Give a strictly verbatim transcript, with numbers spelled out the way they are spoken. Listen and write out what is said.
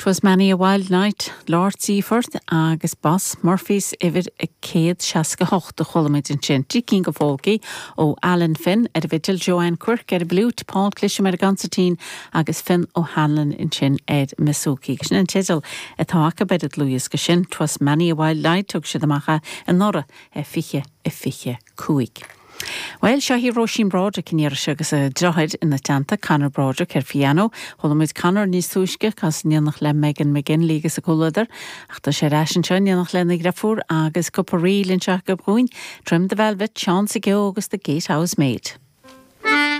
'Twas many a wild night, Lord Seaforth agus Boss Murphy's uimhir a céad seasca hocht a chuala muid ansin. Trí cinn de phólcaí ó Alan Finn ar an bhfidil Joanne Quirk ar an bhfliúit, Paul Clisham ar an gconsairtín agus Finn O'Hanlon ansin ar an mbiosúcaí. Sin an teideal atá acu ar an dlúthdhiosca sin, 'Twas many a wild night thug siad amach é anuraidh fiche a fiche cúig. Well seo í Róisín Broderick in iarse agus a deartháir ina teannta Conor Broderick ar piano, Chuala muid Conor níos túisce cas in éineacht le Megan McGinley agus a comhluadar, ach tá sé ar ais anseo in éineacht lena dheirfiúr agus cúpla ríl anseo acu dúinn, Trim the Velvet, Seán sa Geo agus the Gatehouse Maid.